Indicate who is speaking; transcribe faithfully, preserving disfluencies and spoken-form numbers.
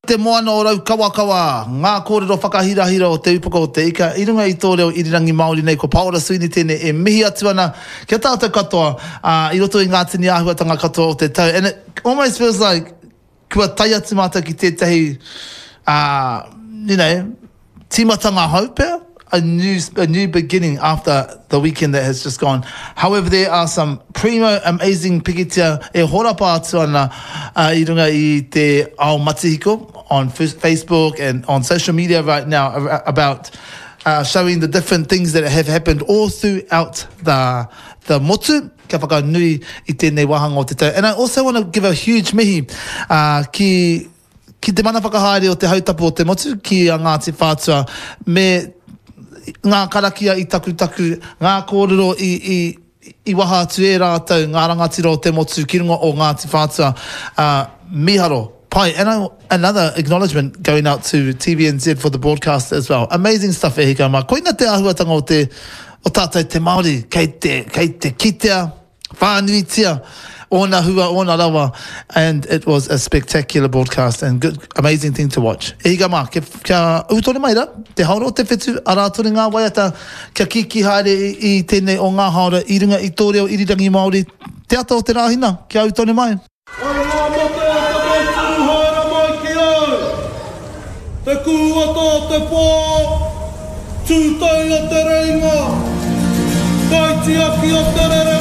Speaker 1: Te moana o Raukawakawa, ngā kōrero whakahirahira o Te Upoko o te Ika i runga i tō reo irirangi Māori nei ko Paora Sweeney tēnei e mihi atu ana ki a tātou katoa uh, i roto i ngā tini āhuatanga katoa o te tau. And it almost feels like kua tae atu mātou ki tētahi, uh, you know, tīmatanga hou pea, a new, a new beginning after the weekend that has just gone. However, there are some primo amazing pikitia e horapa atu ana uh, i runga i te ao matihiko on Facebook and on social media right now about uh, showing the different things that have happened all throughout the, the motu kia whakanui i tēnei wāhanga o te tau. And I also want to give a huge mihi uh, ki ki te mana whakahaere o te hautapu o te motu, ki a Ngāti Whātua, me ngā karakia i takutaku, ngā kōrero i, i, i waha atu e rātou, ngā rangatira o te motu ki runga o Ngāti Whātua, uh, miharo, pai. And I, another acknowledgement going out to T V N Z for the broadcast as well. Amazing stuff e hika mā. Koina te āhuatanga o te o tātou te Māori, kei te, kei te kitea, whānuitia, ōna hua, ōna rawa, and it was a spectacular broadcast and good, amazing thing to watch. E hika mā, kia, kia ū tonu mai rā, te haora o te whitu, arā tonu ngā waiata, kia kiki haere i, i tēnei o ngā haora i runga i tō reo irirangi Māori, te ata o te Rāhina, kia ū tonu mai.
Speaker 2: Ai ngā mate o te motu haere mai ki au. Te kūata o te pō, tūtai o te reinga, kaitiaki o te rere.